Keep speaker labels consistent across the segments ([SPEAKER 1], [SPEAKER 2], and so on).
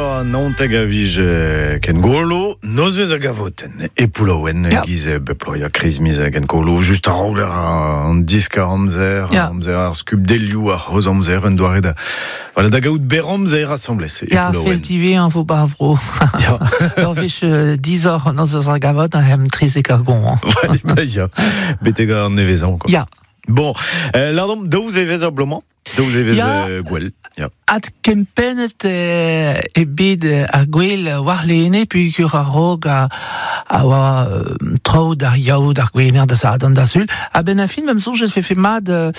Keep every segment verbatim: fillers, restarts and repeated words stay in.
[SPEAKER 1] Naontek a vije ken golo, nozvez a gavoten, e poulouen,
[SPEAKER 2] Ja.
[SPEAKER 1] giz beploia kriz miz ken golo, just a roger an disk ar amzer,
[SPEAKER 2] Ja.
[SPEAKER 1] amzer ar skub delioù ar hoz amzer, un doare da, voilà, da gaout ber amzer assemblez, e
[SPEAKER 2] Ja,
[SPEAKER 1] poulouen.
[SPEAKER 2] festivé an vo bavro.
[SPEAKER 1] Ja.
[SPEAKER 2] Ur vech euh, dix heures noz ar gavot an hem trizek ar gon. Hein.
[SPEAKER 1] Ouais, bah, ya. Betek an nevezan, quoi.
[SPEAKER 2] Ja.
[SPEAKER 1] Bon, euh, lardom, daouz evez ar blomañ, daouz evez
[SPEAKER 2] Ja.
[SPEAKER 1] euh, gwell. Ja.
[SPEAKER 2] At kempennet euh, e bet euh, ar gwell war lene pugur ar rog a, a oa euh, tro d'ar yaou d'ar gwener da sadan da sul. A ben a fin, mem sonj fe fe mad euh,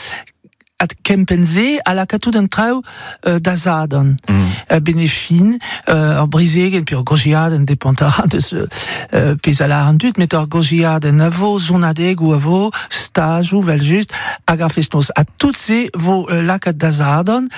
[SPEAKER 2] at kempenze a la katout an traoù euh, da zadan.
[SPEAKER 1] Mm.
[SPEAKER 2] Euh, benefin, euh, ur brizegen pe ur gojiadenn depant a deus euh, pez a lar an dud, met ur gojiadenn a vo zonadeg ou a vo stajou vel just hag ar fest-noz. A tout se vo euh, lakaat da zadon,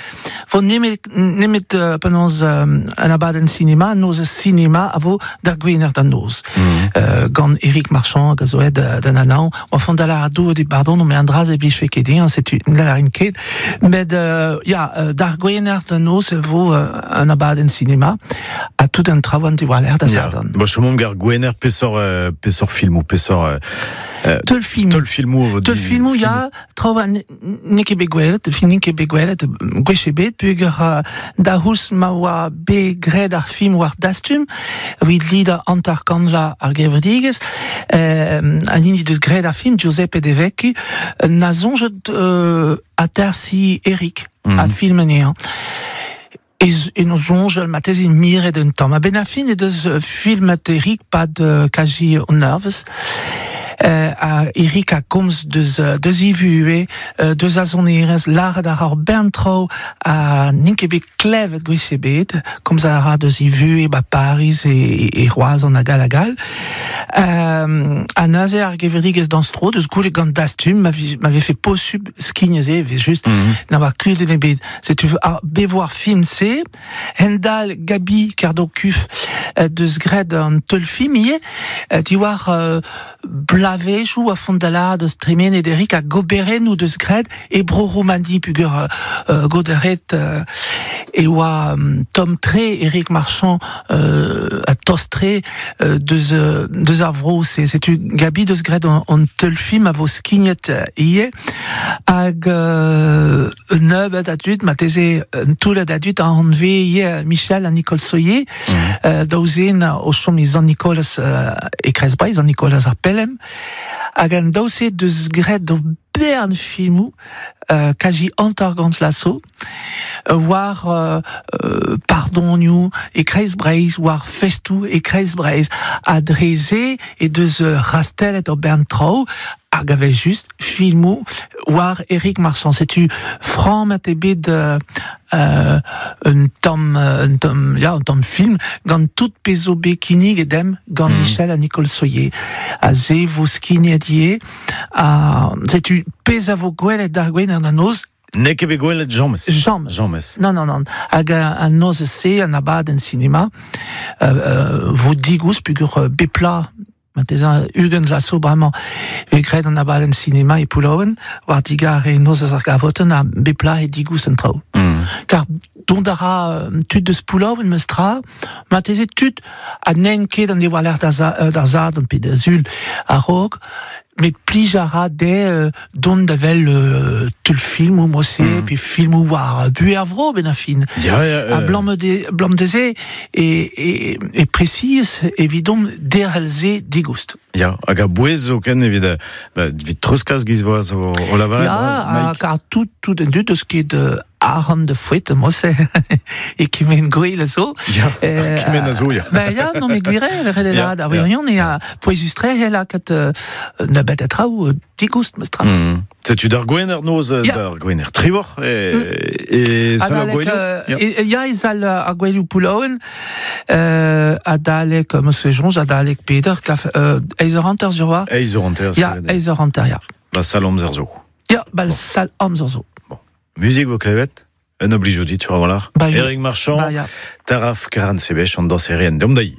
[SPEAKER 2] vo nemet, nemet euh, penaos euh, an abadenn cinema, noz cinema a vo d'ar gwener da noz.
[SPEAKER 1] Mm.
[SPEAKER 2] Euh, gant Eric Marchand hag a zo ed d'an anaon, oa font da lar a dou di pardon, mais an draz e blij fe ket din, setu la larin ket. Met euh, ja, euh, d'ar gwener da noz e vo euh, an abadenn cinema, a tout an traoù an diwaller da
[SPEAKER 1] Ja.
[SPEAKER 2] zadon.
[SPEAKER 1] Bon, chomomp gar gwener pesor, euh, pesor filmou, pesor... Euh,
[SPEAKER 2] Teul film.
[SPEAKER 1] Teul filmou vo
[SPEAKER 2] Teul
[SPEAKER 1] di-
[SPEAKER 2] filmou,
[SPEAKER 1] skin-
[SPEAKER 2] ya, traoù an n'eo ket bet gwelet, film n'eo ket bet gwelet, gwech ebet, pugur euh, da hous ma oa bet graet ar film war dastum, evit lida antar kanla ar gevredigezh, euh, an hini deus graet ar film, Giuseppe De Vecchi, na soñjet euh, atersi Eric,
[SPEAKER 1] Mm.
[SPEAKER 2] a film anezhañ. E, z- e no soñjal matez in miret un tamm. A ben a fin e deus euh, filmet Eric pad euh, kaji on nervez. Euh, a Eric a komz deus, euh, deus ivue, euh, deus a sonerez, lâret ar ar bern tro a n'int ket bet klevet gwech ebet, komz a ra deus ivue ba Paris e, e Roazhon hag all hag all. Euh, a neuze ar gevredigezh dañs-tro, deus goulet gant dastum, ma vi- ma vefe posubl skignez e, vez just,
[SPEAKER 1] Mm.
[SPEAKER 2] na oa kudenn ebet. Setu ar bevoar film se, hendal Gabi Kardokuf euh, deus graet an teul film ivez, euh, diwar euh, blavezhioù a fondala deus tremen Eric a goberennoù deus graet e bro Roumani pugur euh, euh, goderet euh, e oa um, Tom Tre, Eric Marchand euh, a tostre euh, deus, euh, deus ar vro se. Setu Gabi deus graet an, an teul film a vo skignet euh, ivez hag euh, un nebeud a dud, ma teze un toullad a dud a anve ivez Michel ha Nicole Soyer,
[SPEAKER 1] Mm.
[SPEAKER 2] euh, daouzen o chom e Zan Nicolas euh, e Kreiz-Breizh, Zan Nicolas ar Pelem, hag an daouse deus graet do bern filmoù euh, kaji hanter gant laso, euh, war euh, euh, pardonioù e Kreiz-Breizh, war festoù e Kreiz-Breizh, a dreze e deus euh, rastellet o bern traoù, hag avel just filmoù war Eric Marchand. Setu frammet e bet euh, euh, un tamm, euh, un tamm, ya, un tamm film gant tout pezh zo bet kinnig edem gant
[SPEAKER 1] Mhm.
[SPEAKER 2] Michel ha Nicole Soyer. A ze vo skignet ivez, a setu pezh a vo gwelet d'ar gwener da noz,
[SPEAKER 1] N'eo ket bet gwelet james.
[SPEAKER 2] James.
[SPEAKER 1] James.
[SPEAKER 2] Non, non, non. Hag an noz se, an abadenn cinema, euh, euh, vo digouz pugur euh, bepla, ma ugent laso bremañ, ve graet an abadenn cinema e Poulouen, war digar e noz ar gavoten a bepla e digouz an traoù.
[SPEAKER 1] Mm.
[SPEAKER 2] Kar dont a ra euh, tud deus Poulouen meus tra, ma teze tud a n'en ket an dewa l'air da za- euh, d'ar zad an pe da zul a-raok, met plij a ra de euh, dont da vel euh, teul film ou mosse,
[SPEAKER 1] Mm.
[SPEAKER 2] pe film ou war euh, bu ar vro ben a fin.
[SPEAKER 1] Ja, ja,
[SPEAKER 2] A
[SPEAKER 1] euh,
[SPEAKER 2] blam de, blam deze e, e, e presis evidom derel ze digoust.
[SPEAKER 1] Ja, hag a bouez zo ken evit, euh, ba, evit treuzkas giz voaz o, o lavaret.
[SPEAKER 2] Ja,
[SPEAKER 1] ouais,
[SPEAKER 2] a
[SPEAKER 1] Mike.
[SPEAKER 2] kar tout, tout an dud eus ket euh, arc'hant de fouet, mosse, e kemen gwell a zo.
[SPEAKER 1] Ja,
[SPEAKER 2] Euh,
[SPEAKER 1] kemen a zo, ya.
[SPEAKER 2] Ben ya, non mais gwire, le red
[SPEAKER 1] Ja,
[SPEAKER 2] la da wirion e a pouezustre he lakaat euh, na bet a traoù euh, digoust meus tra.
[SPEAKER 1] Mm. Setu d'ar gwener noz,
[SPEAKER 2] Ja.
[SPEAKER 1] d'ar gwener trivor, e, e sal ar
[SPEAKER 2] Adalek,
[SPEAKER 1] gouelioù.
[SPEAKER 2] euh,
[SPEAKER 1] Ja.
[SPEAKER 2] e- e- ya e zal ar gouelioù Poulouen, euh, adalek, euh, meus soñj, adalek Peter, kaf, euh, eiz eur hanter sur war.
[SPEAKER 1] Eiz eur hanter,
[SPEAKER 2] Ya,
[SPEAKER 1] c'est
[SPEAKER 2] eiz eur hanter, ya.
[SPEAKER 1] Ba sal amzer zo.
[SPEAKER 2] Ya, bal sal amzer zo.
[SPEAKER 1] Muzik vo klevet, un oblij dit, tu vas voir.
[SPEAKER 2] Ba,
[SPEAKER 1] Eric Marchand,
[SPEAKER 2] Ba, ya.
[SPEAKER 1] Taraf Karan Sebech, an dañserien, deomp dai.